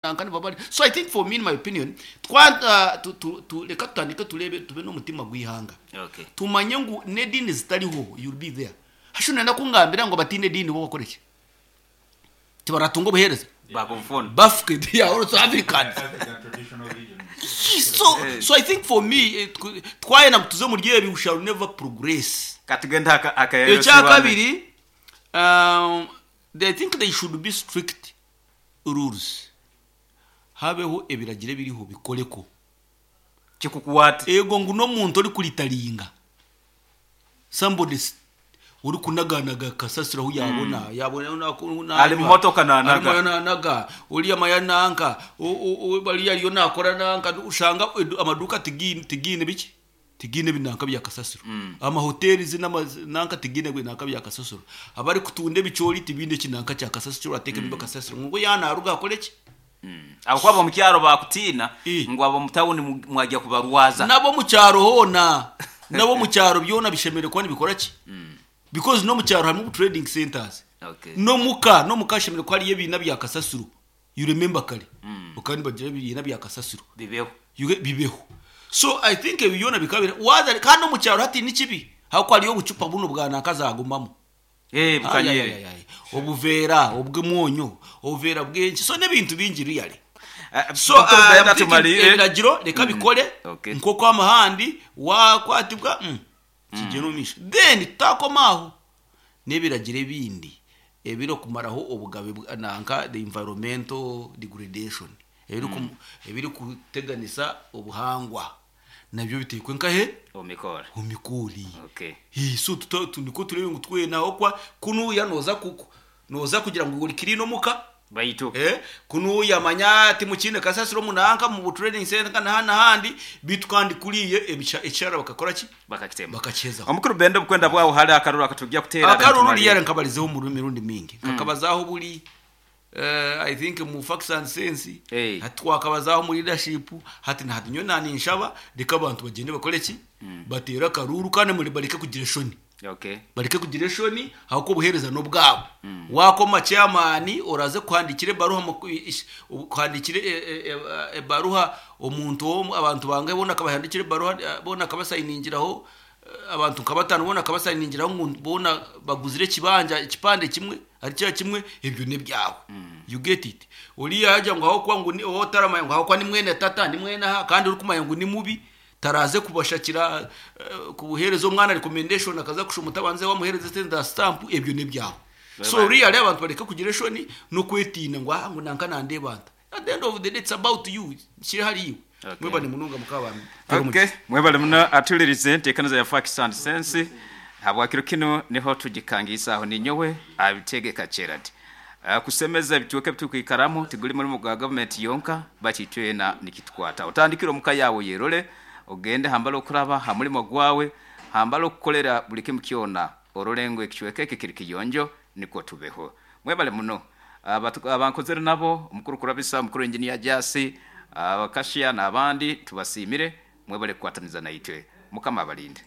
Nanka nibaba bari so I think for me in my opinion twa tu, tu, tu, reka tutandike tureebe tube n'omutima gw'eihanga Okay. tumanye ngu n'ediini zitariho you'll be there hashi noyenda kungambira ngu abataine ediini bo bakore ki tibaratunga obuheereza Bakufuna. bafuke they are also Africans African traditional religion. so, so I think for me eh, twayenda ngu tuze omuri ebi we shall never progress Katugende aka akayero ekyakabiri um, I think they should be strict rules Habeho ebiragiro ebiriho bikoreko. Kikukwate. Ego ngu n'omuntu orikuritaringa, somebody orikunaganaga kasasiro ahu yaabona, yaabona Ari mu motoka naanaga. Ariyo naanaga, oriya manya nanka, bariya ariyo naakora nanka, oshanga amaduuka tigiine tigiine biki? Tigiine ebinanka bya kasasiro. Amahoteeri n'amananka tigiine binanka bya kasasiro. Abarikutunda ebicoori tibaine kinanka kya kasasiro eki orateekemu kasasiro. Ngu yaaba naaruga akore ki? Ahabw'okuba ab'omu kyaro baakutiina Eh. ngu ab'omu tawuni mwagya kubarwaza. N'ab'omu kyaro hoona, n'ab'omu kyaro byona bishemereire kuba nibikora ki? Because n'omu kyaro harimu obu trading centres. Okay. N'omuka, n'omuka hashemereire kuba hariyo ebiina bya kasasiro. You remember kare, bakaba nibagira ebiina bya kasasiro. Bibeho. You get, bibeho. So I think ebi byona bikaba biri, waza kandi n'omu kyaro hati ni kibi, ahabw'okuba hariyo obucupa bunu bwa nanka zagumamu. Eh, bukanyire. Ayayayayay. Obuveera obw'omwonyo, obuveera bw'enki, so n'ebintu bingi really. So Dr. I'm Brenda thinking tumalire. ebiragiro reka bikore Okay. nk'oku amahandi wakwatibwa kigyenda omu maisho. Then tutakoma aho n'ebiragiro ebindi ebirikumaraho obugabe bwa nanka the environmental degradation ebiriku ebirikuteganisa obuhangwa nabyo biteekwe nkahe Omu mikoori. omu mikoori. Okay. Hii, so tuta, tu, nikwo tureebe ngu twena ahabw'okuba kunuuya nooza ku, nooza kugira ngu ori clean omuka Baitu. Eh, kunuuya manya timukiine kasasiro omu nanka mu trading center na n'ahandi beitu kandi kuriya ebisha ekishara bakakora ki? Bakakitema. Bakakihezaho. Omukuru Benda obukwenda bwawe hariho akaruru akatugya kuteera then Akaruru tumalire. riyare nkabarizeho omu mirundi mingi. Nkakabazaho buri eh, I think mu facts and sense Eh. hati twakabazaho mu leadership hati na hati nyowe naninshaba reka abantu bagyende bakore ki? Bateere akaruru kandi muri bareke kugira eshoni. Okay. Bareke kugira eshoni ahabw'okuba obuheereza n'obwabo. Waakoma chairman oraze kuhandikira ebaruha kuhandikira ebaruha omuntu omwe abantu bangahe boona akabahandikira ebaruha boona akabasayiningiraho abantu nka bataano boona akabasayiningiraho ngu boona baguzire ekibanja ekipande kimwe ari kira kimwe ebyo n'ebyawe. You get it? Oriya yaagira ngu ahabw'okuba ngu ou otaramanya ngu ahabw'okuba ni mwene tata ni mwene aha kandi orikumanya ngu ni mubi Taraaze kubashakira kubuheereza omwana recommendation akaza kushoma otabanze wamuheereza esente za stamp ebyo n'ebyawe. So really abantu bareke kugira eshoni n'okwetiina ngu ah ngu nanka nandeeba nta. At the end of the day it's about you, kiri ahari iwe. Okay. Mwebare munonga mukaba ba Okay, mwebale muno atuhulirize enteekaniza ya Facts and Sense. Habwa kiro kinu niho tugikangiisa aho ninyowe Abitegeka Gerald. Kusemeza ebicweka ebiturukwikaramu tiguli mulimo gwa gavumenti yonka baitu itwena nikitukwataho. Otandikire omu ka yaawe oyerole, ogende hambali okuraba ha mulimo gwawe, hambali okukolera buli kimu kyona orole ngu ekicweka eki kiri kiyonjo nukwo tubeho. Mwebale muno abankozere nabo, Omukuru Kurabisa, Omukuru Engineer Jasi, Abakashia n'abandi tubasiimire, mwebale kukwataniza naitwe. Mukama abalinde.